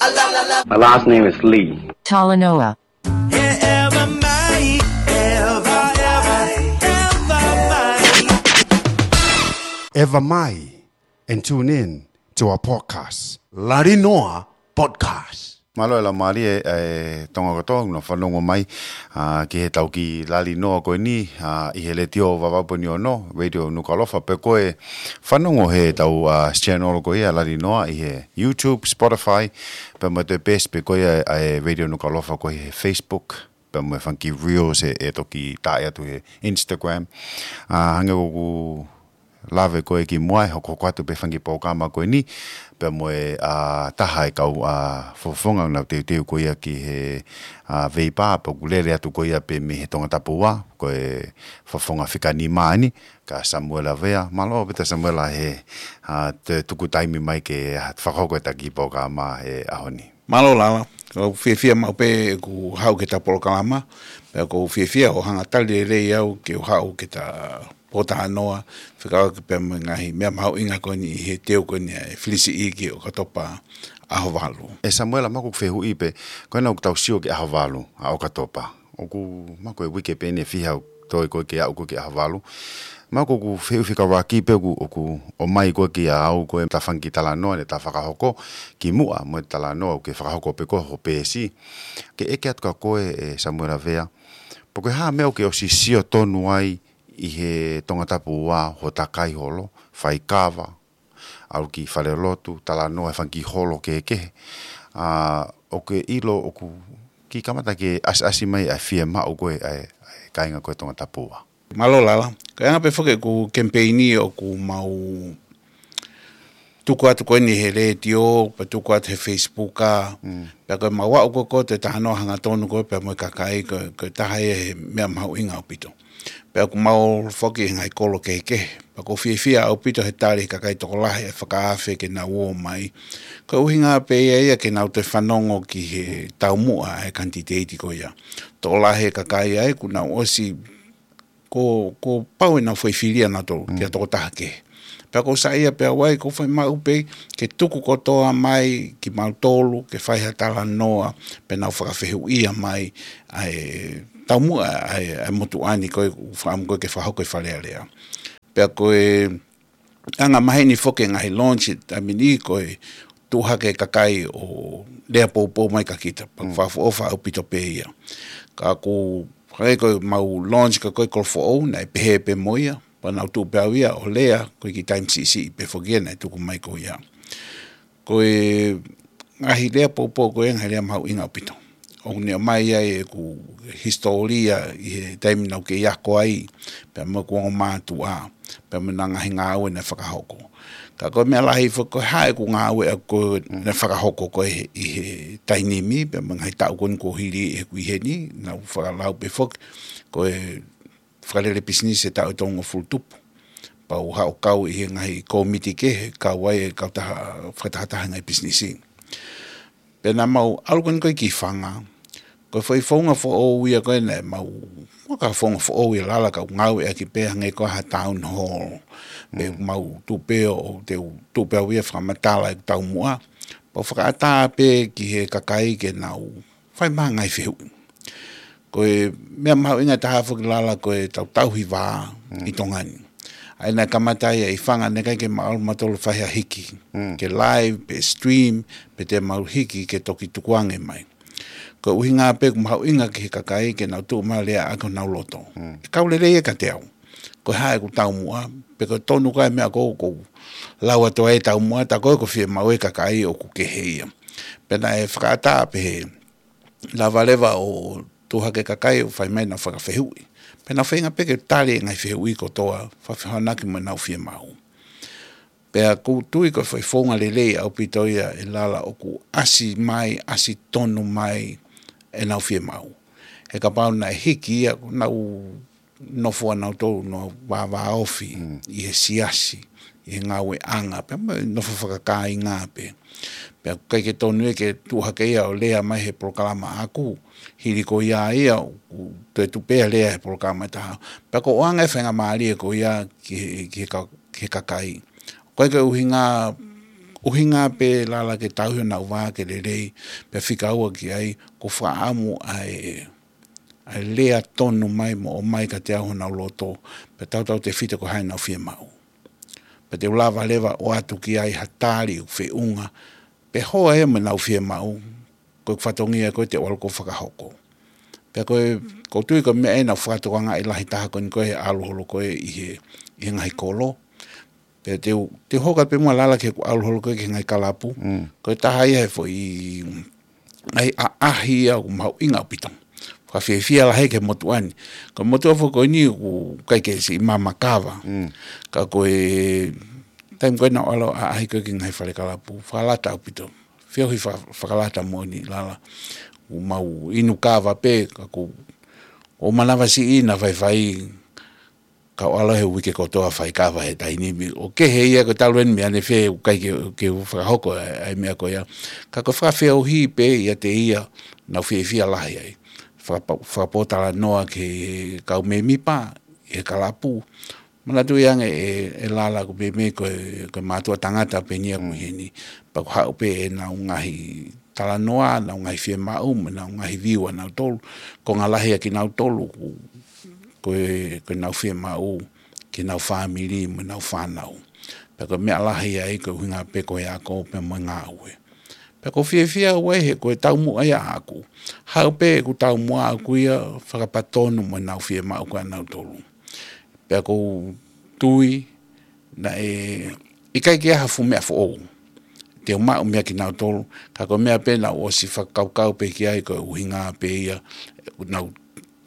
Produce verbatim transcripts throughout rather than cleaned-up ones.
My last name is Lee. Talanoa. Ever mai and tune in to our podcast. Lali Noa Podcast. Mālō e laumālie ʻa e Tonga kotoa ʻoku nau fanongo mai, ā, ki heʻetau kiʻi lali noa ko eni, ā, ʻi he Letiō Vavaʻu pē ʻe ono, Radio Nukuʻalofa, pe ko e fanongo heʻetau, ā, channel ko ia Lali Noa ʻi he YouTube, Spotify, pea mo e toe page pē ko ia ʻa e Radio Nukuʻalofa ko ē he Facebook, pea mo e fanga kiʻi reels ʻe, ʻe toki tā atu he Instagram. Ā, hangē ko ʻeku lave ko ē kimuʻa, ʻe hokohoko atu pē fanga kiʻi polokalama ko eni, pea mo e, ā, taha e kau, ā, fofonga ʻoku nau teuteu ko ia ki he, ā, veipa, pea ʻoku lele atu ko ia pē mei he Tongatapu Ua, ko e fofonga fika nima eni, ko Samuela Vea. Mālō ʻaupito Samuela he, ā, toe tuku taimi mai ke, ā, fakahoko ʻeta kiʻi polokalama he ʻaho ni. Mālō Lala, ʻoku ou fiefia maʻu pē ʻeku haʻu ki heʻeta polokalama, pea ʻoku ou fiefia hoʻo hanga ʻo tali lelei au ke u haʻu ki heʻeta pōtalanoa, fekauʻaki pea mo e ngaahi meʻa mahuʻinga ko eni ʻi he teu ko eni ʻa e filisiʻi ki ʻOkatopa ʻaho valu. ʻE Samuela, mahalo ʻoku fehuʻi pē, ko ena ʻoku tau sio ki he ʻaho valu ʻa ʻOkatopa. ʻOku mahalo ko e uike pē eni ʻe fiha ʻoku toe ko ē ke aʻu ko ē ki he ʻaho valu. Mahalo ʻoku fehuʻi fekauʻaki pē ʻoku, ʻoku ʻomai ko ē kiate au ko ē ʻeta fanga kiʻi talanoa, ʻeta fakahoko kimuʻa mo e talanoa ʻoku ke fakahoko pē ko ē ho peesi. Ke ʻeke atu kia koe ʻe Samuela Vea, pe ko e hā e meʻa ʻoku ke ʻosi sio tonu ai ʻi he Tongatapu Ua, hoʻo takai holo, faikava, ʻalu ki falelotu, talanoa he fanga kiʻi holo kehekehe. Ā, ʻoku ke ʻilo ʻoku kiʻi kamata ke ʻasiʻasi mai ʻa e fiemaʻu ko ē ʻa e, ʻa e kāinga ko ē Tongatapu Ua. Mālō Lala, ko e anga pē foki ʻeku kemipeini ʻoku mau tuku atu ko eni he letiō, pea tuku atu he Facebook ā, Mm. pea ko e mau aʻu ko ē ki he talanoa hangatonu ko ē pea mo e kakai ko, ko e taha ia he meʻa mahuʻinga ʻaupito. Pea ʻoku mau foki he ngaahi kolo kehekehe. Pea ʻoku ou fiefia ʻaupito he tali ʻa e kakai tokolahi ʻa e fakaafe ke nau ō mai. Ko e ʻuhinga pē ia ia ke nau toe fanongo ki he taumuʻa ʻa e kanititeiti ko ia. Tokolahi e kakai ai kuo nau ʻosi, kuo, kuo pau ʻenau foʻi filia nautolu, Mm. ki ha tokotaha kehe. Pea ʻoku ou saiʻia pē au ai, ʻoku ou fai maʻu pē ke tuku kotoa mai kimautolu, ke fai ha talanoa, pea nau fakafehuʻia mai ʻa e taumuʻa ʻa e, ʻa e motuʻa ni ko ē ʻoku ou fakaʻamu ko ē ke fakahoko ʻi Fale Alea. Pea ko e anga maheni foki e ngaahi launch taimi ni ko e tuʻu hake e kakai ʻo lea poupou mai kia kita, pea Mm. fakaʻofoʻofa ʻaupito pē ia. Ka ʻoku hangē ko e mau launch ko ē ko e kolo foʻou, naʻe pehē pē mo ia, pea nau tuʻu pē au ia ʻo lea, ko e kiʻi taimi siʻisiʻi pē foki ia naʻe tuku mai ko ia. Ko e ngaahi lea poupou ko e ngaahi lea mahuʻinga ʻaupito. ʻOku ne ʻomai ai ʻeku hisitōlia ʻi he taimi naʻa ku kei ako ai, pea mo ʻeku ongo mātuʻa, pea mo e ngaahi ngāue naʻe fakahoko. Ka ko e meʻa lahi foki ko e hā ʻeku ngāue ʻaʻaku ko ē naʻe fakahoko ko ē ʻi he taimi ni, pea mo e ngaahi taʻu ko eni kuo hili ʻeku ʻi heni, naʻa ku fakalau pē foki, ko e fakalele pisinisi he taʻu ʻe tolungofulu tupu. Pea u haʻu ʻo kau ʻi he ngaahi kōmiti kehe, kau ai e kautaha fakatahataha ngaahi pisinisi. Pea naʻa mau ʻalu ko eni ko ē ki Fanga, ko e foʻi founga foʻou ia ko ē naʻa mau, ʻoku ʻikai ko ha founga foʻou ia Lala ka u ngāueʻaki pē hangē ko ha town hall. Pea Mm. mau tuʻu pē ʻo, te u tuʻu pē au ia ʻo fakamatala ʻeku taumuʻa. Pea u fakaʻatā pē ki he kakai ke nau fai mai ha ngaahi fehuʻi. Ko e meʻa mahuʻinga taha foki Lala ko ʻetau tauhi vā Mm. ʻi Tonga ni. ʻA ia naʻe kamata ia ʻi Fanga, naʻe ʻikai ke mau ʻalu mautolu ʻo fai ha hiki. Mm. Ke live, pe stream, pe te mau hiki ke toki tukuange mai. Ko e ʻuhinga pē ʻoku mahuʻinga ki he kakai ke nau tuʻu mai ʻo lea ʻaki honau loto. Mm. ʻE kau lelei ia kiate au. Ko e hā ʻeku taumuʻa, pe ko e tonu ko ē meʻa ko ē ʻoku ou lau atu ai e taumuʻa, tā ko ē ʻoku fiemaʻu ʻe he kakai ʻoku kehe ia. Pea naʻe fakaʻatā pē he lava leva ʻo tuʻu hake e kakai ʻo fai mai ʻenau fakafehuʻi. Pea nau feinga pē ke tali e ngaahi fehuʻi kotoa, fakafehoanaki mo ʻenau fiemaʻu. Pea ʻoku ou tui ko e foʻi founga lelei ʻaupito ia ʻe Lala ʻoku ʻasi mai, ʻasi tonu mai ʻenau fiemaʻu. He kapau naʻe hiki ia, ʻoku nau nofo ʻa nautolu ʻo nau vāvāofi Mm. ʻi he siasi, ʻi he ngāueʻanga, pea mo e nofo fakakāinga pē. Pea ʻoku ʻikai ke tonu ia ke tuʻu hake ia ʻo lea mai he polokalama ʻaʻaku, hili ko ia ia, ʻoku toe tuʻu pē ia ʻo lea he polokalama ʻe taha. Pea ʻoku ʻoange e faingamālie ko ia ki he, ki he ka-, ki he kakai. ʻOku ʻikai ko e ʻuhinga ʻUhinga pē Lala ke tauhi honau vā ke lelei, pea fika ua ki ai, ko e fakaʻamu ʻa e, ʻa e lea tonu mai mo ʻomai kiate au honau loto, pea tautautefito ko e hā ʻenau fiemaʻu. Pea te u lava leva ʻo ʻoatu ki ai ha tali ʻoku feʻunga, pea hoa ia mo ʻenau fiemaʻu, ko e fatongia ko ē te u ʻalu ʻo fakahoko. Pea ko e, ʻoku ou tui ko e meʻa ʻeni naʻa ku fakatokangaʻi lahi taha ko eni ko e ʻalu holo ko ē ʻi he, ʻi he ngaahi kolo. Pea te u, te u hoko atu pē muʻa Lala ki heʻeku ʻalu holo ko ē ki he ngaahi kalapu. Mm. Ko e taha ia he foʻi, ʻa e ʻaʻahi ia ʻoku mahuʻinga ʻaupito. Fakafiefia lahi ki he motuʻa ni. Ko e motuʻa foki ko eni ʻoku ʻikai ke siʻi maama kava. Mm. Ka ko e taimi ko ē naʻa ku ʻalu ʻo ʻaʻahi ko ē ki he ngaahi fale kalapu. Fakalata ʻaupito. Feohi fa-, fakalata moʻoni Lala. ʻOku mau inu kava pē, ka ʻoku, ʻoku manavasiʻi naʻa faifai, ka u ʻalu he uike kotoa fai kava he taimi ni. ʻOku kehe ia ko e talu eni meʻa ne fē, ʻoku ʻikai ke, ke u fakahoko ʻa e, ʻa e meʻa ko ia. Ka ko e fakafeohi pē ʻiate ia, naʻa ku fiefia lahi ai. Fakapa-, fakapōtalanoa ki he kau mēmipa, he kalapu. Manatuʻi ange ē, ē Lala ʻoku meimei ko e, ko e mātuʻa tangata pē eni ia ʻoku ʻi heni. Pea ʻoku haʻu pē ʻenau ngaahi talanoa, ʻenau ngaahi fiemaʻu, mo ʻenau ngaahi view ʻanautolu. Konga lahi ʻa kinautolu, ko, ko e, ko ʻenau fiemaʻu, ki heʻenau fāmili, mo ʻenau fānau. Pea ko e meʻa lahi ai ko e ʻuhinga pē ko e ako, pea mo e ngāue. Pea ʻoku ou fiefia au ai he ko e taumuʻa ia ʻaʻaku. Haʻu pē ʻeku taumuʻa ʻaʻaku ia fakapatonu mo ʻenau fiemaʻu ko ē ʻanautolu. Pea ʻoku ou tui naʻe ʻikai ke ʻi ai ha fuʻu meʻa foʻou te u maʻu meia kinautolu, ka ko e meʻa pē naʻa ku ʻosi fakakaukau pē ki ai ko e ʻuhinga pē ia, naʻa ku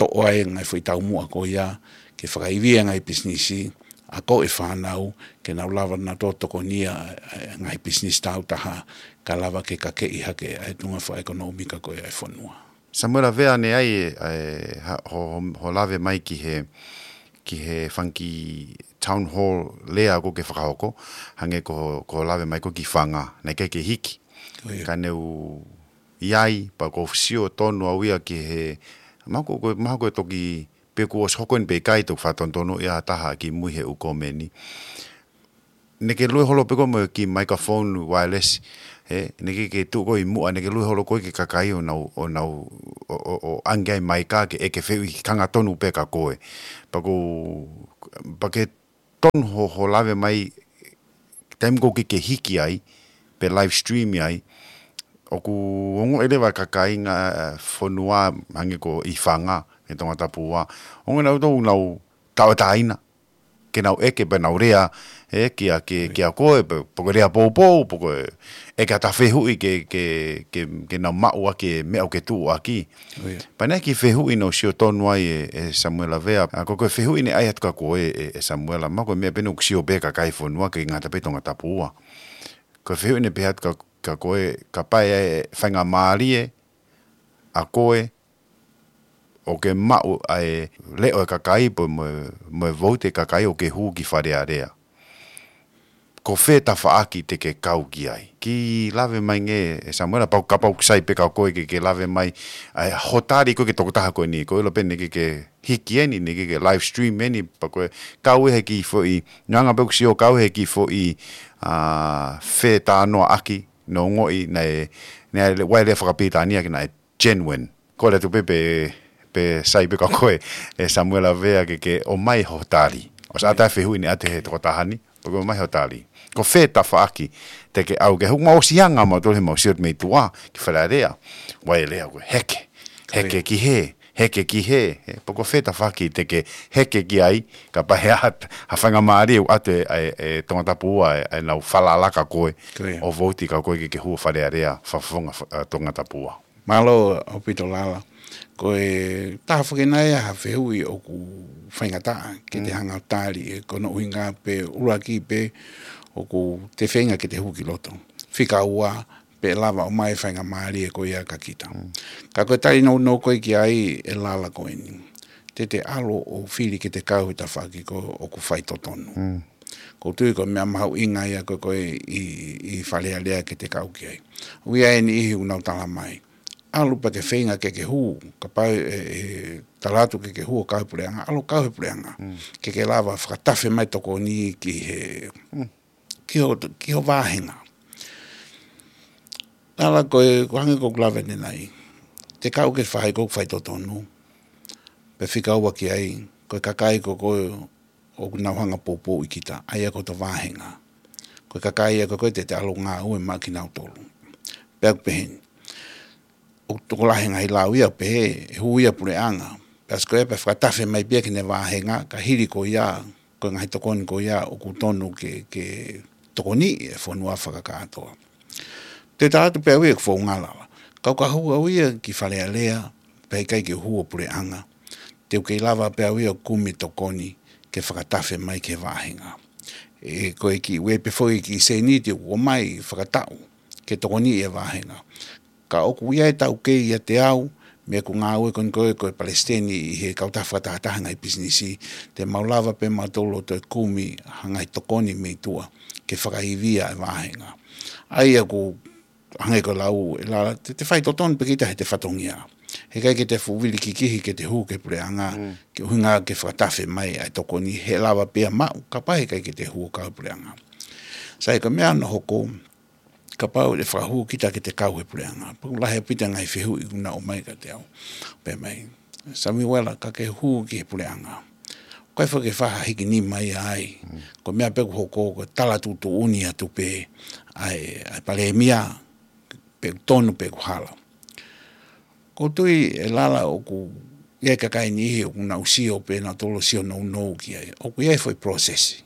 toʻo ai e ngaahi foʻi taumuʻa ko ia, ke fakaivia e ngaahi pisinisi, ako e fānau, ke nau lava nautolu ʻo tokonia e, e ngaahi pisinisi tāutaha, ka lava ke kakeʻi hake ʻa e tuʻunga fakaʻekonōmika ko ē ʻa e fonua. Samuela Vea, ne ʻi ai e, e, ha-, ho, ho, ho lave mai ki he, ki he fanga kiʻi town hall lea ʻoku ke fakahoko, hangē ko, ko e lave mai ko ē ki Fanga, naʻe ʻikai ke hiki. ʻIo. Ka ne u ʻi ai, pea ʻoku ou sio tonu au ia ki he, mahalo ko, ko, mahalo ko e toki pe kuo ʻosi hoko eni pe ʻikai, toki fakatonutonu ia ha taha kimui he ʻū komeni. Naʻa ke lue holo pē koe mo e kiʻi microphone wireless, ē, naʻa ke, ke tuʻu koe ʻi muʻa, naʻa ke lue holo koe ki he kakai ʻo nau, ʻo nau, ʻo, ʻo, ʻo ʻange ai e maika ke, ʻe ke fehuʻi, hanga tonu pē kia koe. Pea ʻoku, pea ke tonu ho, ho lave mai, taimi ʻoku ke, ke hiki ai, pe live stream ai, ʻoku ongoʻi leva ʻe he kāinga, ē, fonua, hangē ko ē ʻi Fanga, ʻi Tongatapu ua. Ongoʻi nautolu ʻoku nau tauʻatāina ke nau ʻeke pe nau lea, ē, kia, ke, kia koe, pe, pe ko e lea poupou, pe ko e ʻeke atu ha fehuʻi ke, ke, ke, ke nau maʻu ʻaki e meʻa ʻoku ke tuʻu ʻaki. ʻIo. Pea naʻe ʻi ai e kiʻi fehuʻi naʻa ku sio tonu ai ē, ē Samuela Vea. ʻA, ko, ko e fehuʻi naʻe ʻai atu kia koe ē, ē, ē Samuela, mahalo ko e meʻa pē eni ʻoku sio pē ʻa e kakai e fonua ʻikai ngata pē ʻi Tongatapu ua. Ko e fehuʻi naʻe pehē atu kia, kia koe, kapau ʻe faingamālie ʻa koe ʻo ke maʻu ʻa e leʻo ʻo e kakai pe mo, mo e vouti ʻa e kakai ʻo ke hū ki Fale Alea, ko fē tafaʻaki te ke kau ki ai? Kiʻi lave mai angē ē Samuela, pea kapau ʻoku sai pē kia koe ke, ke lave mai ʻa e hoʻo tali ko ē ki he tokotaha ko eni, ko e ʻilo pē naʻe ʻikai ke hiki eni, naʻe ʻikai ke live stream eni, pea ko e kau ē he kiʻi foʻi, nanga pē ʻoku sio kau ē he kiʻi foʻi, ā, fetalanoaʻaki, naʻe ongoʻi naʻe, naʻe ʻai e lea fakapilitānia ke naʻe genuine. Kole atu pē pe, pe sai pē kia koe ē Samuela Vea ke, ke ʻomai hoʻo tali. ʻOsi ʻatā e fehuʻi naʻe ʻoatu ʻe he tokotaha ni, pea ke ʻomai hoʻo tali. Ko fē tafaʻaki te ke ʻalu ki ai? He ʻoku mau ʻosi hanga mautolu he mau sio atu mei tuʻa ki Fale Alea. ʻOku ʻi ai e lea ko e heke. Heke ki hē, heke ki hē. Ē, pea ko fē tafaʻaki te ke heke ki ai, kapau ʻe ʻi ai ha, ha faingamālie ʻoku ʻoatu ʻe, ʻe, ʻe Tongatapu ua ʻa e, ʻenau falala kia koe, ʻio, ʻo vouti kia koe ke, ke hū ʻo Fale Alea, fakafofonga fa-, ʻa, Tongatapu ua. Mālō ʻaupito Lala. Ko e taha foki eni ia ha fehuʻi ʻoku faingataʻa ke te, mm, hanga ʻo tali ē, ko hono ʻuhinga pē ʻuluaki pē ʻoku te feinga ke te hū ki loto. Fika ua, pe ʻe lava ʻo ʻomai e faingamālie ko ia kia kita. Mm. Ka ko e tali nounou ko ē ki ai ē Lala ko eni. Te te ʻalu ʻo fili ke te kau he tafaʻaki ko ē ʻoku faitotonu. Mm. ʻOku ou tui ko e meʻa mahuʻinga ia ko ē ko ē ʻi, ʻi Fale Alea ke te kau ki ai. ʻOku ʻi ai e niʻihi ʻoku nau tala mai, ʻalu pea ke feinga ke ke hū, kapau ʻe, ʻe tala atu ke ke hū ʻo kau he puleʻanga, ʻalu ʻo kau he puleʻanga. Mm. Ke ke lava fakatafe mai tokoni ki he, mm, ki ho, ki ho vāhenga. Lala, ko e, ko e hangē ko ʻeku lave ʻanenai. Te kau ke fai ko e faitotonu. Pea fika ua ki ai, ko e kakai ko ē ʻoku nau hanga ʻo poupouʻi kita, ʻa ia ko hoto vāhenga. Ko e kakai ia ko ē te te ʻalu ʻo ngāue maʻa kinautolu. Pea ʻoku pehē ni. ʻOku tokolahi e ngaahi lau ia ʻo pehē, ʻe hū ia puleʻanga. Pea ʻosi ko ia pea fakatafe mai pē ia ki heʻene vāhenga, ka hili ko ia, ko e ngaahi tokoni ko ia ʻoku tonu ke, ke tokoniʻi e fonua fakakātoa. Te u tala atu pē au ia ʻeku founga, Lala. Ka u ka hū au ia ki Fale Alea, pea ʻikai ke u hū ʻo puleʻanga, te u kei lava pē au ia ʻo kumi tokoni ke fakatafe mai ki he vāhenga. ʻE, ko e kiʻi uē pē foʻi kiʻi sēniti ʻoku ʻomai fakataʻu ke tokoniʻi e vāhenga. Ka ʻoku ʻi ai e taukei ʻiate au, mei heʻeku ngāue ko eni ko ē ko e palesiteni ʻi he kautaha fakatahataha e ngaahi pisinisi, te mau lava pē mautolu ʻo toe kumi ha ngaahi tokoni mei tuʻa ke fakaivia e vāhenga. ʻA ia ʻoku hangē ko e lau ē, Lala, te, te faitotonu pē kita heʻete fatongia. Heʻikai ke te fuʻu vili kikihi ke te hū ki he puleʻanga, ke ʻuhinga ke fakatafe mai ʻa e tokoni, he lava pē ia ʻo maʻu, kapau heʻikai ke te hū ʻo kau he puleʻanga. Sai, ko e meʻa hono hoko, kapau ʻe fakahū kita ke te kau he puleʻanga, pea ʻoku lahi ʻaupito e ngaahi fehuʻi ʻoku nau ʻomai kiate au. Pehē mai, Samiuela, ka ke hū ki he puleʻanga, ʻoku ʻikai foki ke fai ha hiki nima ia ai. Ko e meʻa pē ʻoku hoko ko e tala tuʻutuʻuni atu pē ʻa e, ʻa e palēmia, pe ʻoku tonu pe ʻoku hala. ʻOku ou tui, ʻe Lala, ʻoku ʻi ai e kakai ʻe niʻihi ʻoku nau sio pē nautolu, sio nounou ki ai. ʻOku ʻi ai e foʻi process.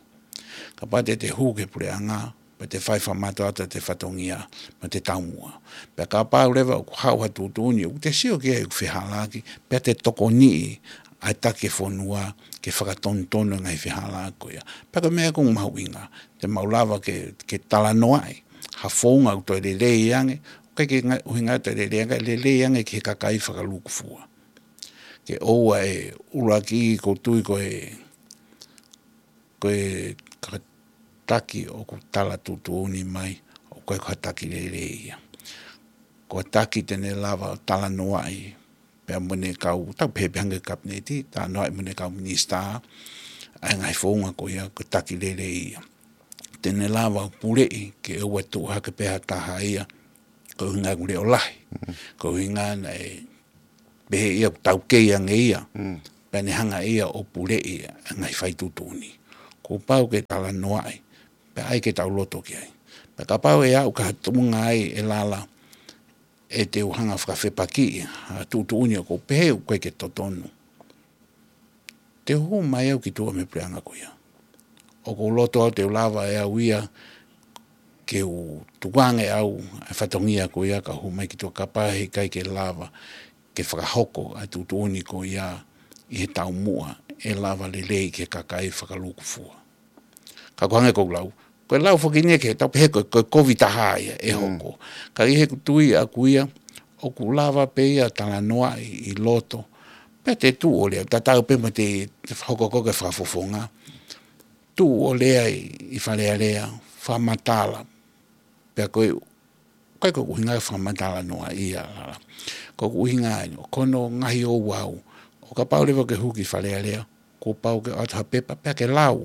Kapau te te hū ki he puleʻanga, pea te fai fakamātoato ʻete fatongia mo ʻete taumuʻa. Pea kapau leva ʻoku haʻu ha tuʻutuʻuni ʻoku te sio ki ai ʻoku fehālaaki, pea te tokoniʻi ʻa e taki e fonua ke fakatonutonu e ngaahi fehālaaki ko ia. Pea ko e meʻa ia ʻoku mahuʻinga, te mau lava ke, ke talanoaʻi ha founga ʻoku toe lelei ange, ʻoku ʻikai ke nga-, ʻuhinga toe lelei ange, lelei ange ki he kakai fakalūkufua. Ke ʻoua ʻe ʻuluaki, ʻoku ou tui ko e, ko e ka-, taki ʻoku tala tuʻutuʻuni mai, ʻoku ʻikai ko ha taki lelei ia. Ko e taki te ne lava ʻo talanoaʻi pea mo ʻene kau, tau pehē pē hangē ko e kapineti, talanoaʻi mo ʻene kau minisitā, ʻa e ngaahi founga ko ia, ko e taki lelei ia. Te ne lava ʻo puleʻi ke ʻoua ʻe tuʻu hake pē ha taha ia, ko e ʻuhinga ʻoku leʻo lahi, ko e ʻuhinga naʻe pehē ia ʻoku taukei ange ia, pea ne hanga ia ʻo puleʻi e ngaahi faituʻutuʻuni. Kuo pau ke talanoaʻi, pea ʻai ke tau loto ki ai. Pea kapau ʻe aʻu ki ha tuʻunga ai, ʻe Lala, ʻe te u hanga ʻo fakafepakiʻi ha tuʻutuʻuni ʻoku ou pehē ʻoku ʻikai ke totonu, te u hū mai au ki tuʻa mei he puleʻanga ko ia. ʻOku ou loto au te u lava ʻe au ia ke u tukuange ʻe au e fatongia ko ia kae hū mai ki tuʻa, kapau heʻikai ke lava ke fakahoko ʻa e tuʻutuʻuni ko ia ʻi he taumuʻa ʻe lava lelei ki he kakai fakalūkufua. Ka ko e hangē ko ʻeku lau, ko e lau foki eni ia ke tau pehē ko e, ko e kovi taha ia ʻe hoko. Ka ʻi heʻeku tui ʻaʻaku ia, ʻoku lava pē ia talanoaʻi ʻi loto, pea te tuʻu ʻo lea, tatau pē mo ʻete, ʻete hokohoko e fakafofonga. Tuʻu ʻo lea ʻi, ʻi Fale Alea, fakamatala. Pea ko e, ʻikai ko ʻeku ʻuhinga ke fakamatala noa ia, Lala. Ko ʻeku ʻuhinga eni, ʻo ko hono ngaahi ouau, ʻo kapau leva ke hū ki Fale Alea, kuo pau ke ʻoatu ha pepa pea ke lau.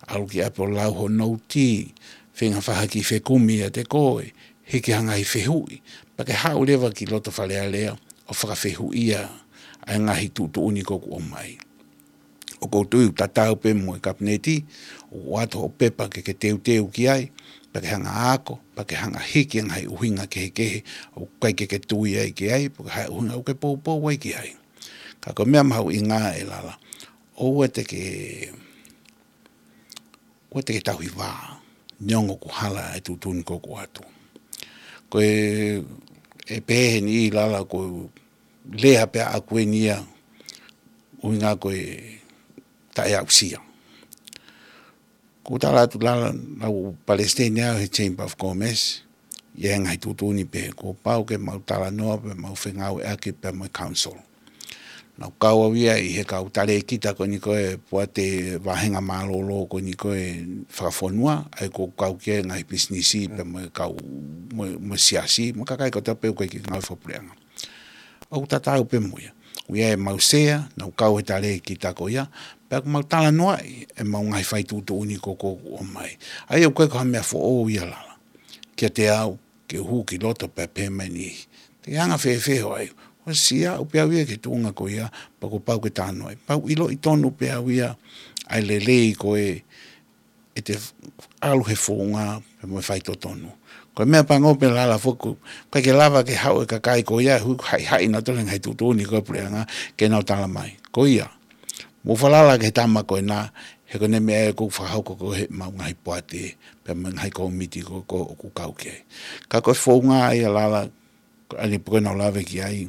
ʻAlu ki ʻapi ʻo lau ho nouti, feinga fai ha kiʻi fekumi ʻiate koe, hiki ha ngaahi fehuʻi, pea ke haʻu leva ki loto Fale Alea ʻo fakafehuʻia ʻa e ngaahi tuʻutuʻuni ko ē ʻoku ʻomai. ʻOku ou tui ʻoku tatau pē mo e kapineti, ʻoku ʻoatu hoʻo pepa ke ke teuteu ki ai, pea ke hanga ʻo ako, pea ke hanga ʻo hiki e ngaahi ʻuhinga kehekehe ʻoku ʻikai ke ke tui ai ki ai, pe ko e hā e ʻuhinga ʻoku ke poupou ai ki ai. Ka ko e meʻa mahuʻinga, ʻe Lala, ʻoua te ke, ʻoua te ke tauhi vā, neongo ʻoku hala e tuʻutuʻuni ko ē ʻoku ʻoatu. Ko e, ʻe pehē ʻe niʻihi, Lala, ko e lea pē ʻaʻaku eni ia, ʻuhinga ko e taʻeaʻusia. ʻOku ou tala atu, Lala, naʻá ku palesiteni au he Chamber of Commerce, ʻi he ngaahi tuʻutuʻuni pē, kuo pau ke mau talanoa pea mau fengāueʻaki pea mo e council. Naʻá ku kau au ia ʻi he kau talēkita ko eni ko ē, poate vāhenga mālōlō ko eni ko ē fakafonua, ʻa ia ʻoku kau ki ai e ngaahi pisinisi pea mo e kau, mo, mo e siasi, mo e kakai kotoa pē ʻoku ʻikai ke ngāue fakapuleʻanga. ʻOku tatau pē mo ia. ʻOku ʻi ai ʻemau sea, naʻá ku kau he talēkita ko ia, pea ʻoku mau talanoaʻi ʻemau ngaahi faituʻutuʻuni ko ē ʻoku ʻomai. ʻA ia ʻoku ʻikai ko ha meʻa foʻou ia, Lala, kiate au, ke u hū ki loto pea pehē mai ni. Te ke anga fēfē hoʻo ʻai? ʻOsi aʻu pē au ia ki he tuʻunga ko ia, pea kuo pau ke talanoa ai. Pea u ʻiloʻi tonu pē au ia ʻa e lelei ko ē ʻete ʻalu he founga pea mo e faitotonu. Ko e meʻapango pē Lala foki, ʻikai ke lava ke haʻu e kakai ko ia, hu-, haʻihaʻi nautolu he ngaahi tuʻutuʻuni ko e puleʻanga ke nau tala mai. Ko ia, mou falala ki he tama ko ena, he ko ʻene meʻa ʻoku fakahoko ko ē heʻemau ngaahi poate, pea mo e ngaahi kōmiti ko ē ʻoku kau ki ai. Ka ko e founga ia Lala, ʻa eni pē ko ē naʻa ku lave ki ai,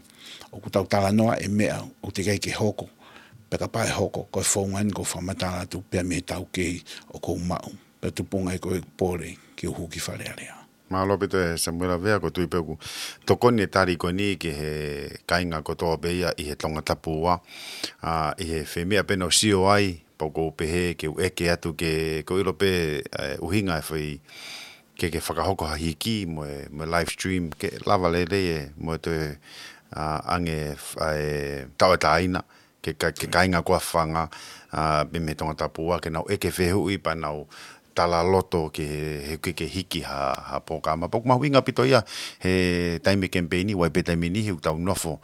ʻoku tau talanoa e meʻa ʻoku teʻeki ai ke hoko, pea kapau ʻe hoko, ko e founga eni ʻoku ou fakamatala atu pea mei he taukei ʻoku ou maʻu, pea tupunga ai ko e pole ke u hū ki Fale Alea. Mālō ʻaupito ʻe Samuela Vea, ʻoku ou tui pē ʻoku tokoni e tali ko eni ki he kāinga kotoa pē ia ʻi he Tongatapu ua, ʻa, ʻi he fē meʻa pē naʻa ku sio ai, pea ʻoku ou pehē ke u ʻeke atu ke, ʻoku ou ʻilo pē, ʻa e ʻuhinga e fai ke, ke fakahoko ha hiki mo e, mo e live stream, ke lava lelei e, mo e toe, ʻa, ʻange, ʻa e, tauʻatāina, ke ka-, ke kāinga kotoa fanga, ʻa, pē mei he Tongatapu ua, ke nau ʻeke fehuʻi pea nau tala loto ke he, he ke, ke hiki ha, ha polokalama. Pea ʻoku mahuʻinga ʻaupito ia he taimi kemipeini, ʻoku ʻi ai pē taimi niʻihi ʻoku tau nofo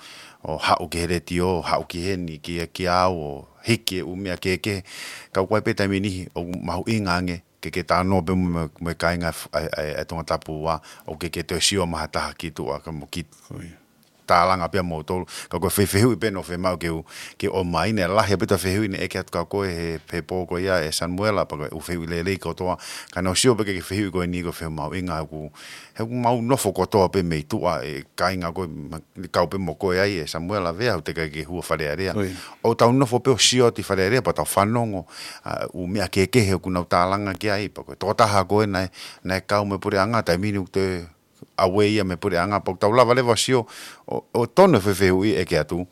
ʻo haʻu ki he letiō, haʻu ki heni, ki, kia au, ʻo hiki e ʻū meʻa kehekehe. Ka ʻoku ʻi ai pē taimi niʻihi ʻoku mahuʻinga ange ke, ke talanoa pē mo, mo, mo e kāinga ʻa, ʻa, ʻa Tongatapu ua, ʻoku ke, ke toe sio mai ha taha ki tuʻa ka mo ki tālanga pē ʻa moutolu. Ka ko e fai fehuʻi pē naʻe fiemaʻu ke u, ke ʻomai, naʻe lahi ʻaupito e fehuʻi naʻe ʻeke atu kia koe he, he pō ko ia ʻe Samuela, pea ko e ʻū fehuʻi lelei kotoa. Ka naʻa ku sio pē ki he fehuʻi ko eni ʻoku fehuʻi mahuʻinga ʻoku, he ʻoku mau nofo kotoa pē mei tuʻa e kāinga ko ē, ma-, kau pē mo koe ai ʻe Samuela Vea, ʻoku teʻeki ai ke hū ki Fale Alea. ʻOku tau nofo pē ʻo sio atu ʻi Fale Alea, pea tau fanongo, ʻa, ʻū meʻa kehekehe ʻoku nau tālanga ki ai, pea ko e tokotaha ko ē naʻe, naʻe kau mo e puleʻanga, taimi ni ʻoku toe ʻave ia mei he puleʻanga, pea ʻoku tau lava leva ʻo sio, ʻo, ʻo tonu e fai fehuʻi ʻeke atu,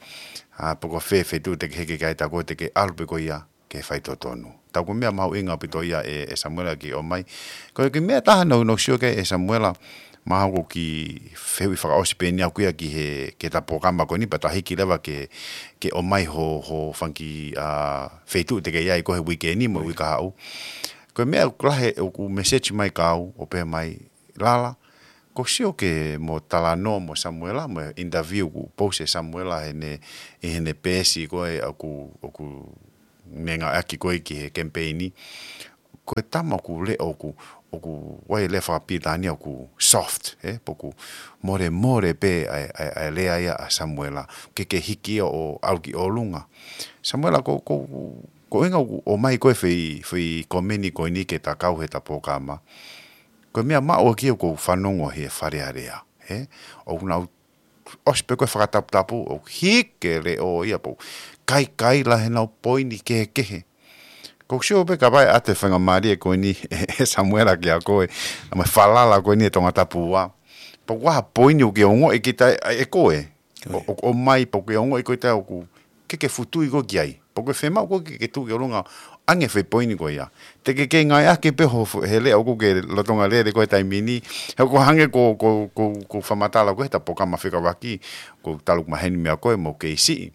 ʻa, pea ko fē feituʻu te ke hiki ki ai, tā ko ē te ke ʻalu pē ko ia ki he faitotonu. Tā ko e meʻa mahuʻinga ʻaupito ia ʻe, ʻe Samuela ke ʻomai. Ko e kiʻi meʻa ʻe taha naʻa ku, naʻa ku sio ki ai ʻe Samuela, mahalo ko e kiʻi fehuʻi fakaʻosi pē eni ʻaʻaku ia ki he, ki he ta polokalama ko eni, pea ta hiki leva ke, ke ʻomai ho, ho fanga kiʻi, ʻa, feituʻu te ke ʻi ai ko ē he uike ni mo e uike kahaʻu. Ko e meʻa ʻoku lahi ʻoku message mai kia au, ʻo pehē mai, Lala, ʻoku ou sio ki hoʻomo talanoa mo Samuela, mo e interview kuo post ʻe Samuela heʻene, ʻi heʻene peesi ko ē ʻoku, ʻoku ne ngāueʻaki ko ē ki he kemipeini. Ko e tama ʻoku leʻo ʻoku, ʻoku ʻi ai e lea fakapilitānia ʻoku soft, ē? Pea ʻoku molemole pē ʻa e, ʻa e, ʻa e lea ia ʻa Samuela. Ke ke hiki ʻo ʻalu ki ʻolunga. Samuela, ko, ko, ko e ʻuhinga ʻoku ʻomai ko ē e fai, fai komeni ko eni ki he ta kau he ta polokalama. Ko e meʻa maʻu ʻaʻaku ia ʻoku ou fanongo he Fale Alea, ē? ʻOku nau ʻosi pē ko ē fakataputapu, ʻoku hiki e leʻo ia pea ʻoku kaikaila heʻenau poini kehekehe. ʻOku ou sio pē kapau ʻe ʻoatu e faingamālie ko eni ʻe, ʻe Samuela kia koe, ʻa mo e falala ko eni ʻa Tongatapu ua. Pea ʻoku ʻi ai ha poini ʻoku ke ongoʻi kita ʻe, ʻe koe. ʻO, ʻo, ʻomai pea ʻoku ke ongoʻi koe ʻe taha ʻoku ke, ke futui koe ki ai. Pea ʻoku ke fiemaʻu koe ke, ke tuʻu ki ʻolunga ʻo ʻange e fai poini ko ia. Teʻeki ke ngāueʻaki pē ho, he leʻo ʻoku ke lolotonga lele ko ē he taimi ni. He ʻoku hangē ko, ko, ko, ko e fakamatala ko ē he ta polokalama fekauʻaki, ʻoku talu ʻeku maheni meia koe mo e kei siʻi.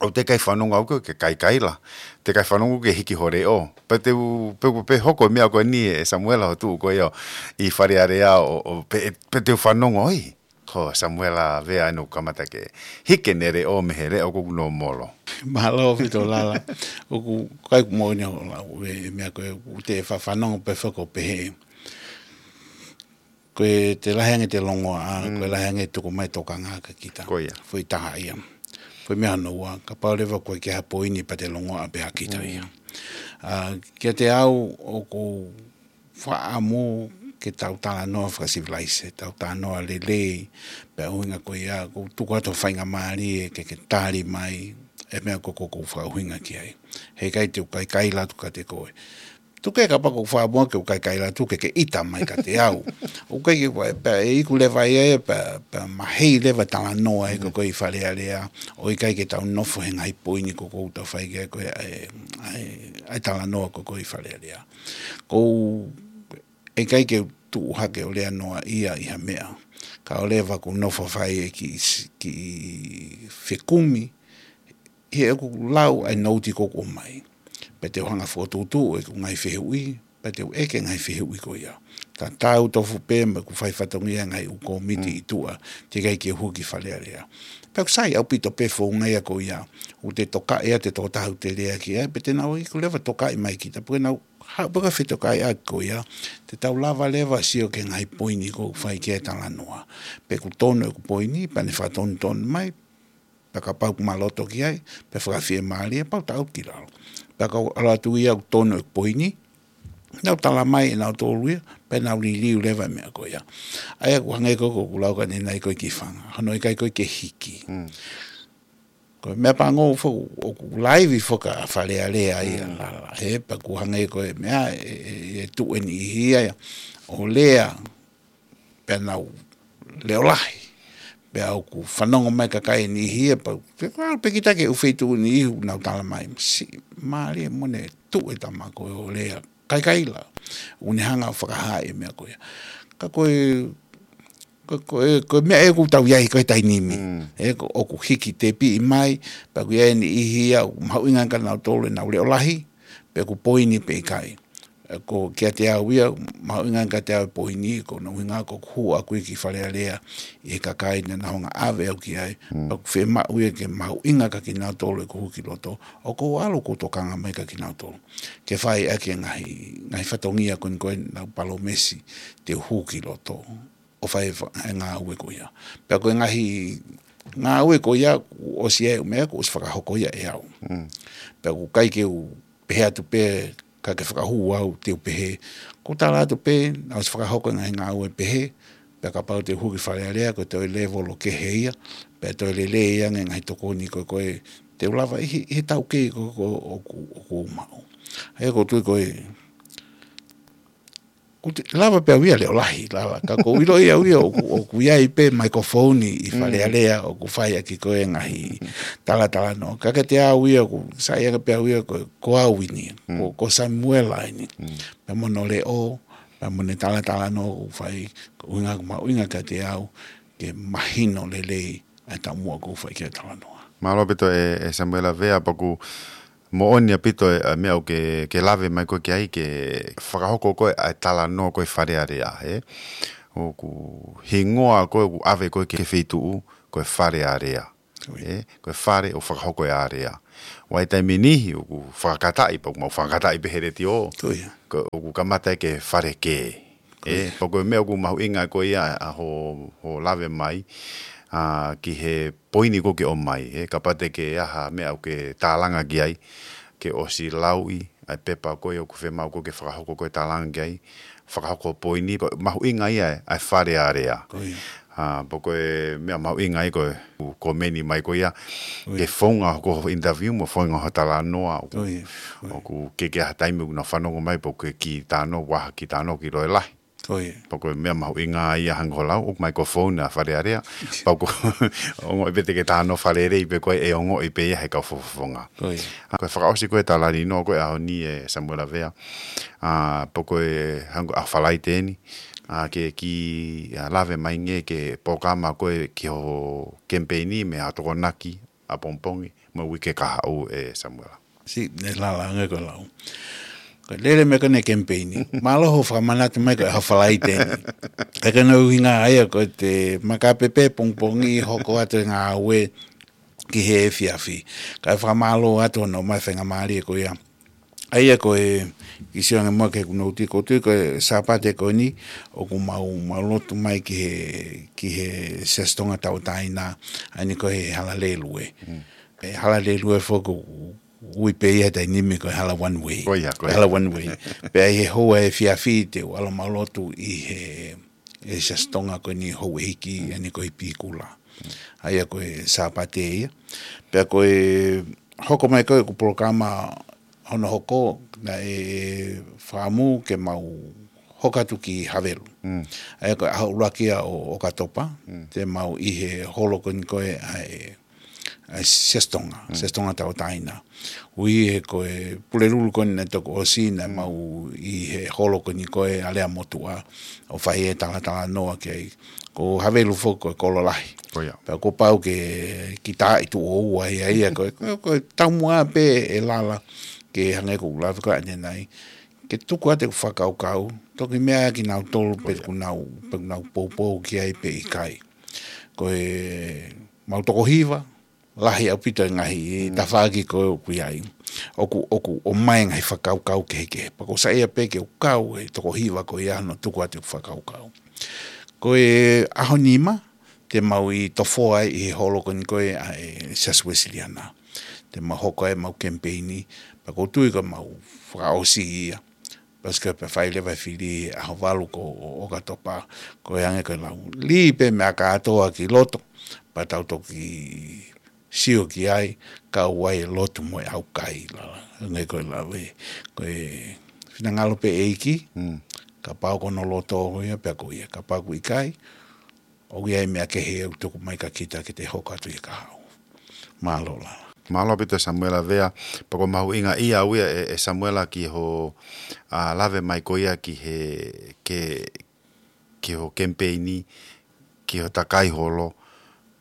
ʻOku teʻeki ai fanongo au ke kaikaila. Teʻeki ai fanongo ke hiki ho leʻo. Pea te u, pea, pea hoko e meʻa ko eni ʻe Samuela hoʻo tuʻu ko ia ʻi Fale Alea ʻo, ʻo pē, pea te u fanongo, ʻoi. Ko Samuela Vea ʻoku kamata ke hiki ʻene leʻo mei he leʻo ʻoku nau molo. Mālō ʻaupito Lala. ʻOku ʻikai ke moʻoni ʻa e lau e meʻa ko ē, ʻoku te fa-, fanongo pē foki ʻo pehē. Ko e te lahi ange ʻete longoaʻa, ko e lahi ange e tuku mai e tokanga kia kita. Ko ia. Foʻi taha ia. Foʻi meʻa hono ua, kapau leva ʻoku ʻikai ke ʻi ai ha poini pea te longoaʻa pē ʻa kita ia. ʻA, kiate au ʻoku ou fakaʻamu ke tau talanoa fakasivilaise, tau talanoa lelei, pea ʻuhinga ko ia, ʻoku ou tuku atu e faingamālie ke, ke tali mai e meʻa ko ē ʻoku ou fakaʻuhinga ki ai. Heʻikai te u kaikaila atu kiate koe. Tuku ke kapau ʻoku ou fakaʻamu ke u kaikaila atu ke ke ʻita mai kiate au. ʻOku ʻikai ke pea, pea ʻe iku leva ia, pea, pea mahei leva e talanoa ē ko ē ʻi Fale Alea, ʻo ʻikai ke tau nofo he ngaahi poini ko ē ʻoku tau fai ki ai ko ē ʻa e, ʻa e, ʻa e talanoa ko ē ʻoku ʻi Fale Alea. ʻOku ou, ʻikai ke u tuʻu hake ʻo lea noaʻia ʻi ha meʻa. Kae ʻoua leva ke u nofo ʻo fai e kiʻi s-, kiʻi fekumi, he ʻoku lau ʻa e nouti ko ē ʻoku ʻomai. Pea te u hanga ʻo fokotuʻutuʻu ʻeku ngaahi fehuʻi, pea te u ʻeke e ngaahi fehuʻi ko ia. tatau tofu pē mo ʻeku fai fatongia ngaahi ʻū kōmiti ʻi tuʻa, teʻeki ai ke u hū ki Fale Alea. Pea ʻoku sai ʻaupito pē founga ia ko ia, ʻoku te tokaʻi ʻa e tokotaha ʻoku te lea ki ai, pea te nau iku leva tokaʻi mai kita, pea nau haʻu pē ka fetokaʻi ʻaki ko ia, te tau lava leva sio ki he ngaahi poini ʻoku fai ki ai e talanoa. Pe ʻoku tonu ʻeku poini, pea ne fakatonutonu mai, pea kapau ʻoku ma loto ki ai, pea fakafiemālie, pea u taʻu ki lalo. Pea ka u ʻalu atu ia ʻoku tonu ʻeku poini, nau tala mai ʻe nautolu ia, pea nau liliu leva e meʻa ko ia. ʻA ia ʻoku hangē ko ē ʻoku lau ka ne nai ko ē ki fanga. Hono ʻikai ko ē ke hiki. Ko e meʻa pango foki ʻoku laivi foki ʻa Fale Alea ia lala. He pea ʻoku hangē ko e meʻa e, e, e tuʻu e niʻihi ia. ʻO lea pea nau leʻo lahi. Pea ʻoku fanongo mai kakai e niʻihi ia, pea, pea, pea kita ki he ʻū feituʻu niʻihi ʻoku nau tala mai. Si, mālie mo ne tuʻu e tama ko ē ʻo lea. Kaikaila. ʻOku ne hanga ʻo fakahā e meʻa ko ia. Ka ko e, ko, ko e, ko e meʻa ʻoku tau ʻi ai ko e taimi ni. E ko, ʻoku hiki tepiʻi mai, pea ʻoku ʻi ai e niʻihi ia, ʻoku mahuʻinga kia nautolu ʻenau leʻo lahi, pe ʻoku poini pe ʻikai. Ko kiate au ia, mahuʻinga kiate au e poini, ko hono ʻuhinga ko ʻeku hū ʻaʻaku ia ki Fale Alea, ʻi he kakai naʻa nau hanga ʻo ʻave au ki ai, pea ʻoku fiemaʻu ia ke mahuʻinga kia kinautolu ʻeku hū ki loto, ʻoku ou ʻalu ʻoku ou tokanga mai kia kinautolu. Ke fai ʻaki e ngaahi, ngaahi fatongia ko eni ko ē naʻa nau palōmesi te u hū ki loto, ʻo fai e fa-, e ngāue ko ia. Pea ko e ngaahi ngāue ko ia, ʻosi ʻa e ʻū meʻa, kuo ʻosi fakahoko ia ʻe au. Pea ʻoku ʻikai ke u pehē atu pē ka ke fakahū au te u pehē. ʻOku ou tala atu pē, naʻe ʻosi fakahoko e ngaahi ngāue pehē, pea kapau te u hū ki Fale Alea, ko e toe lēvolo kehe ia, pea toe lelei ange e ngaahi tokoni ko ē, ko ē te u lava ʻi he, ʻi he taukei ko ē, ko ē ʻoku, ʻoku ou maʻu. ʻA ia ʻoku ou tui ko e, ʻoku te lava pē au ia leʻo lahi, lala. Ka ʻoku ou ʻiloʻi au ia ʻoku, ʻoku ʻi ai pē microphone ʻi Fale Alea, ʻoku fai ʻaki ko ē ngaahi talatalanoa. Ka kiate au ia ʻoku sai ange pē au ia ko, ko au eni, ko, ko Samuela eni. Pea mo hono leʻo, pea mo ʻene talatalanoa ʻoku fai, ko e ʻuhinga, ko e mahuʻinga kiate au, ke mahino lelei ʻa e taumuʻa ʻoku fai ki ai e talanoa. Mālō ʻaupito ʻe, ʻe Samuela Vea, pea ʻoku moʻoni ʻaupito e, ʻa e meʻa ʻoku ke, ke lave mai ko ē ki ai, ke fakahoko ko ē ʻa e talanoa ko ē Fale Alea, ē? ʻOku hingoa ko ē ʻoku ʻave ko ē ki he feituʻu, ko e Fale Alea. Ē, ko e fale ʻoku fakahoko e alea. ʻI he taimi ni, ʻoku fakakataʻi, pea ʻoku mau fakakataʻi pē he letiō. Ko ia. Ko, ʻoku kamata ia ke fale kē. Ē, pea ko e meʻa ʻoku mahuʻinga ko ia ʻa hoʻo, hoʻo lave mai, ʻa, ki he poini ko ē ʻoku ke ʻomai, ē, kapau te ke ʻi ai ha meʻa ʻoku ke tālanga ki ai, ke ʻosi lauʻi ʻa e pepa ko ē ʻoku fiemaʻu ko ē ke fakahoko ko ē tālanga ki ai, fakahoko poini, pea mahuʻinga ia ʻa e fale alea. Ko ia. ʻA, pea ko e meʻa mahuʻinga ia ko e ʻū komeni mai ko ia, ke founga ko hoʻo interview mo founga hoʻo talanoa, ʻoku ke, ke ʻi ai ha taimi ʻoku nau fanongo mai, pea ʻoku ke kiʻi talanoa, ʻoku ʻi ai ha kiʻi talanoa ʻoku ke ʻilo lahi. Ko ia. Pea ko e meʻa mahuʻinga ia hangē ko hoʻo lau, ʻoku ʻomai ko e phone ʻa Fale Alea. Pea ʻoku ongoʻi pē te ke talanoa fakalelei pē koe ʻe ongoʻi pē ia ʻe he kau fakafofonga. Ko ia. ʻA, ko e fakaʻosi ko ē talanoa ko ē ʻaho ni ʻe Samuela Vea. ʻA, pea ko e hangē ko e ʻaho Falaite ni. ʻA, ke kiʻi, ʻa, lave mai ange ki he polokalama ko ē ki hoʻo kemipeini mo e Tokonaki ʻapongipongi mo e uike kahaʻu ʻe Samuela. Si, ne lala ange ko e lau. Ko e lele mai ko eni e kemipeini. Mālō hoʻo fakamanatu mai ko e ʻaho Falaite ni. ʻIkai ke ʻuhinga ia ko e te makape pē pongipongi hoko atu e ngāue ki he efiafi. Kae fakamālō atu hono ʻomai e faingamālie ko ia. ʻA ia ko e kiʻi sio ange muʻa ki heʻeku nouti, ʻoku ou tui ko e Sāpate ko eni, ʻoku mau, mau lotu mai ki he, ki he Siasi Tonga Tauʻatāina, ʻa eni ko e Hala Lēlue. Mm. E Hala Lēlue foki ʻoku ui pē ia he taimi ni ko e Hala One Way. Ko ia, ko ia. Hala One Way. Pea ʻi he houa efiafi te u ʻalu ʻo mau lotu ʻi he, he Siasi Tonga ko eni houʻeiki, ʻa eni ko e Pikula. ʻA ia ko e Sāpate ia. Pea ko e hoko mai ko ē ʻeku polokalama hono hoko, naʻe fakaʻamu ke mau hoko atu ki Havelu. Mm. ʻA ia ko e ʻaho ʻuluaki ia ʻo ʻOkatopa, mm, te mau ʻi he holo ko eni ko ē ʻa e, ʻa e Siasi Tonga, mm, Siasi Tonga Tauʻatāina. Ui he ko e Pulelulu ko eni naʻe toki ʻosi, naʻa, mm, mau ʻi he holo ko eni ko ē ʻa Leamotuʻa, ʻo fai e talatalanoa ki ai. Ko Havelu foki ko e kolo lahi. Ko ia. Pea kuo pau ke kiʻi taaʻi tuʻo ua ia, ia ko e, ko e, ko e taumuʻa pē ʻe lala ke hangē ko ʻeku lave ko ē ʻanenai. ke tuku atu ʻeku fakakaukau, toki meʻa ʻa kinautolu pe ʻoku nau, pe ʻoku nau poupou ki ai pe ʻikai. Ko e mau toko hiva, lahi ʻaupito e ngaahi tafaʻaki ko ē ʻoku ʻi ai. ʻOku, ʻoku ʻomai e ngaahi fakakaukau kehekehe. Pea ʻoku ou saiʻia pē ke u kau he toko hiva ko ia hono tuku atu e fakakaukau. Ko e ʻaho nima, te mau ʻi Tofoa ai ʻi he holo ko eni ko ē ʻa e Siasi Uesiliana. Te mau hoko ai ʻemau kemipeini, pea ʻoku ou tui ko ʻemau fakaʻosi ia. Pea ʻosi ko ē pea fai leva e fili he ʻaho valu ko ē ʻo ʻOkatopa, ko e hangē ko e lau. Lī pē meʻa kātoa ki loto, pea tau toki sio ki ai, kau ai e lotu mo e ʻaukai, lala. Hangē ko e lau ē, ko e finangalo pē ʻEiki, kapau ko hono loto ko ia, pea ko ia, kapau ʻoku ʻikai, ʻoku ʻi ai e meʻa kehe ʻoku tuku mai kia kita ke te hoko atu ʻi he kahaʻu. Mālō lala. Mālō ʻaupito Samuela Vea, pea ʻoku mahuʻinga ia au ia ē, ē Samuela ki ho, ʻa, lave mai ko ia ki he, ke, ki ho kemipeini, ki ho takai holo,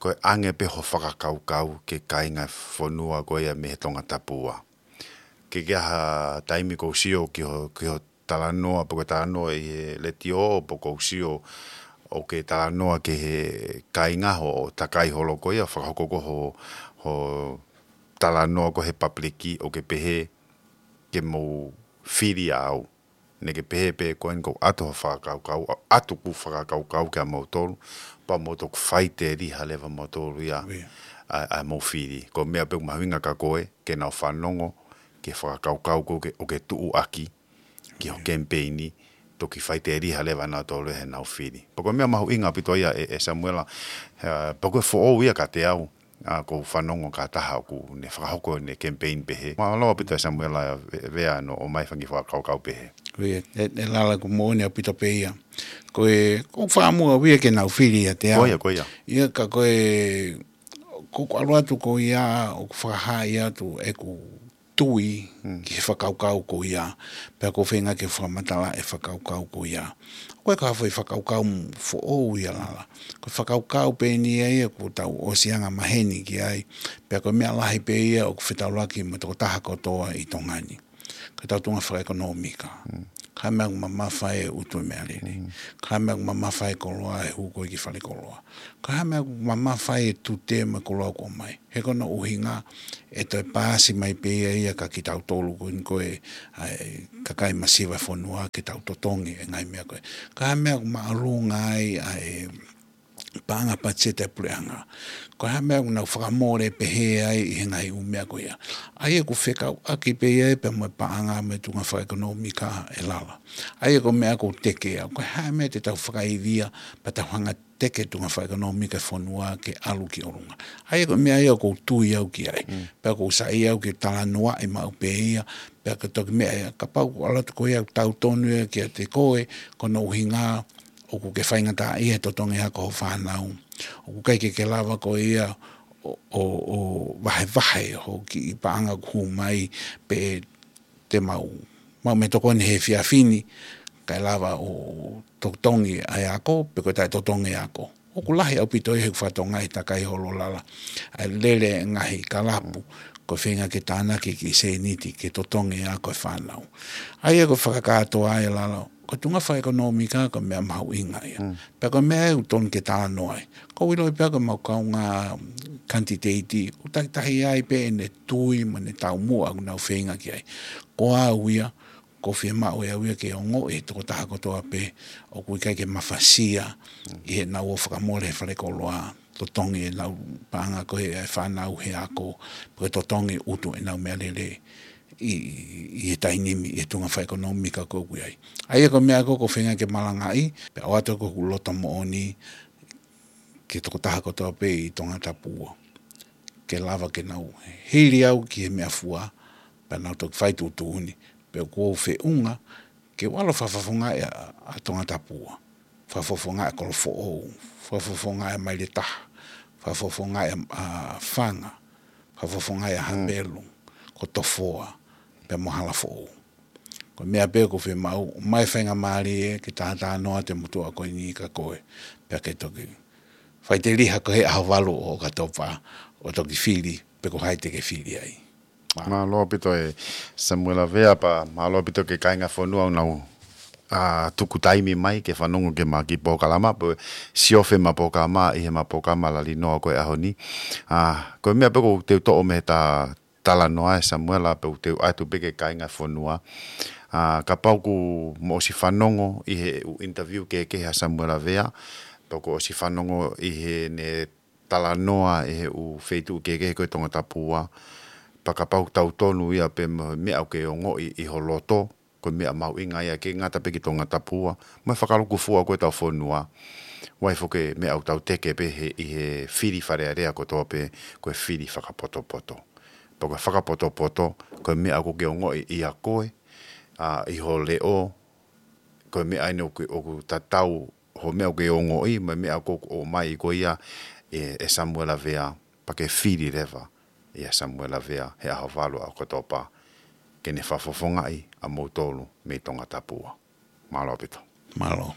ko e ʻange pē ho fakakaukau ki he kāinga fonua ko ia mei he Tongatapu. Ke ke ʻi ai ha taimi ʻoku ou sio ki ho, ki ho talanoa, pe ko e talanoa ʻi he letiō, pe ʻoku ou sio ʻoku ke talanoa ki he kāinga ho takai holo ko ia, fakahoko ko ē ho, ho talanoa ko ē he papiliki ʻoku ke pehē ke mou fili au. Naʻa ke pehē pē ko eni ʻoku ʻoatu ho fakakaukau, ʻoatu ʻeku fakakaukau kia moutolu, pea mou toki faiteliha leva moutolu ia, ʻa, ʻa mou fili. Ko e meʻa pē ʻoku mahuʻinga kia koe, ke nau fanongo ki he fakakaukau ko ē ʻoku ke, ʻoku ke tuʻu ʻaki, ki ho kemipeini, toki faiteliha leva nautolu heʻenau fili. Pea ko e meʻa mahuʻinga ʻaupito ia ē, ē Samuela, ē, pea ko e foʻou ia kiate au, ʻa, ʻoku ou fanongo ki ha taha ʻoku ne fakahoko ʻene kemipeini pehē. Mālō ʻaupito ē Samuela Ve-, Vea hono ʻomai e fanga kiʻi fakakaukau pehē. Ko ia, ē, ē lala ʻoku moʻoni ʻaupito pē ia. Ko e, ʻoku ou fakaʻamu au ia ke nau fili ʻiate au. Ko ia, ko ia. Ia ka ko e, ʻoku ou ʻalu atu ko ia, ʻoku ou fakahaaʻi atu ʻeku tui ki he fakakaukau ko ia, pea ʻoku ou feinga ke fakamatala e fakakaukau ko ia. Ko e ka foʻi fakakaukau foʻou ia lala. Ko e fakakaukau pē eni ia ʻoku tau ʻosi anga maheni ki ai, pea ko e meʻa lahi pē ia ʻoku fetaulaki mo e tokotaha kotoa ʻi Tonga ni. Ko ʻetau tuʻunga fakaʻekonōmika. Ko e hā e meʻa ʻoku mamafa ai e utu e meʻalele. Ko e hā e meʻa ʻoku mamafa ai e koloa ʻi he hū ko ē ki falekoloa. Ko e hā e meʻa ʻoku mamafa ai e tute mo e koloa ʻoku ʻomai. He ko hono ʻuhinga ʻe toe paasi mai pē ia kia kitautolu ko eni ko e, ʻa e kakai masiva e fonua ke tau totongi e ngaahi meʻa ko ē. Ko e hā e meʻa ʻoku māʻolunga ai ʻa e paʻanga patiseti ʻa e puleʻanga. Ko e hā e meʻa ʻoku nau fakamole pehē ai ʻi he ngaahi ʻū meʻa ko ia. ʻA ia ʻoku fekauʻaki pē ia pea mo e paʻanga mo e tuʻunga fakaʻekonōmika ē lala. ʻA ia ko e meʻa ʻoku ou teke au. Ko e hā e meʻa te tau fakaivia, pea tau hanga teke tuʻunga fakaʻekonōmika e fonua ke ʻalu ki ʻolunga. ʻA ia ko e meʻa ia ʻoku ou tui au ki ai. Pea ʻoku ou saiʻia au ke talanoaʻi maʻu pē ia, pea ko e toki meʻa ia, kapau ʻoku ʻalu atu ko ia ʻoku tautonu ia kiate koe, ko hono ʻuhinga ʻoku ke faingataʻaʻia he totongi ako ho fānau. ʻOku ʻikai ke ke lava ko ia ʻo, ʻo, ʻo vahevahe ho kiʻi paʻanga ʻoku hū mai pe te mau, mau mei tokoni he efiafi ni, kae lava ʻo totongi ʻa e ako, pe ko e taʻetotongi e ako. ʻOku lahi ʻaupito ia he ʻoku fakatokangaʻi ʻe he takai holo lala ʻa e lele e ngaahi kalapu, ko e feinga ke tānaki e kiʻi sēniti ke totongi e ako e fānau. ʻA ia ko e fakakātoa ia lala, ko e tuʻunga fakaʻekonōmika ko e meʻa mahuʻinga ia. Pea ko e meʻa ia ʻoku tonu ke talanoa ai. ʻOku ou ʻiloʻi pē ko ʻemau kaungā kanititeiti, ʻoku takitaha ai pē ʻene tui mo ʻene taumuʻa ʻoku nau feinga ki ai. Ko au ia, ʻoku ou fiemaʻu ʻe au ia ke ongoʻi ʻe he tokotaha kotoa pē ʻoku ʻikai ke mafasia ʻi heʻenau ō fakamole he falekoloa, totongi ʻenau paʻanga ko ē ʻa e fānau he ako, pe ko e totongi utu ʻenau meʻalele ʻi, ʻi he taimi ni, ʻi he tuʻunga fakaʻekonōmika ko ē ʻoku ʻi ai. ʻA ia ko e meʻa ko ē ʻoku ou feinga ke malangaʻi, pea ʻoatu ko ʻeku loto moʻoni ki he tokotaha kotoa pē ʻi Tongatapu, ke lava ke nau hili au ki he meʻafua, pea nau toki fai tuʻutuʻuni, pea ʻoku ou feʻunga ke u ʻalu ʻo fakafofongaʻi ʻa, ʻa Tongatapu. Fakafofongaʻi ʻa Kolofoʻou, fakafofongaʻi ʻa Mailetaha, fakafofongaʻi ʻa, ʻa Fanga, fakafofongaʻi ʻa Hapelu, ko Tofoa, pea mo Halafoʻou. Ko e meʻa pē ʻoku ou fiemaʻu, ʻomai e faingamālie ke tātānoa atu e motuʻa ko eni kia koe, pea ke toki faiteliha ko ē he ʻaho valu ʻo ʻOkatopa, ʻo toki fili, pe ko hai te ke fili ai. Mālō ʻaupito e Samuela Vea, pea mālō ʻaupito ki he kāinga fonua ʻoku nau, ā, tuku taimi mai ke fanongo ki he ʻemau kiʻi polokalama, pea siofi ʻemau polokalama ʻi he ʻemau polokalama lali noa ko e ʻaho ni. Ā, ko e meʻa pē ʻoku ou teu toʻo mei he ta-, talanoa ʻa e Samuela pea u teu ʻoatu pē ki he kāinga fonua. Ā, kapau ʻoku mou ʻosi fanongo ʻi he ʻū interview kehekehe ʻa Samuela Vea, pea kuo ʻosi fanongo ʻi heʻene talanoa ʻi he ʻū feituʻu kehekehe ko e Tongatapu, pea kapau ʻoku tautonu ia pea mo e meʻa ʻoku ke ongoʻi ʻi ho loto, ko e meʻa mahuʻinga ia ʻikai ngata pē ki Tongatapu, mo e fakalūkufua ko ē ʻetau fonua. ʻOku ʻi ai foki e meʻa ʻoku tau teke pē he, ʻi he fili Fale Alea kotoa pē, ko e fili fakapotopoto. Pea ko e fakapotopoto, ko e meʻa ʻoku ke ongoʻi ʻia koe, ā, ʻi ho leʻo, ko e meʻa eni ʻoku, ʻoku tatau, ho meʻa ʻoku ke ongoʻi, mo e meʻa ʻoku, ʻoku ʻomai ko ia ʻe, ʻe Samuela Vea, pea ke fili leva ʻia Samuela Vea he ʻaho valu ʻo ʻOkatopa, ke ne fakafofongaʻi ʻa moutolu mei Tongatapu. Mālō ʻaupito. Mālō.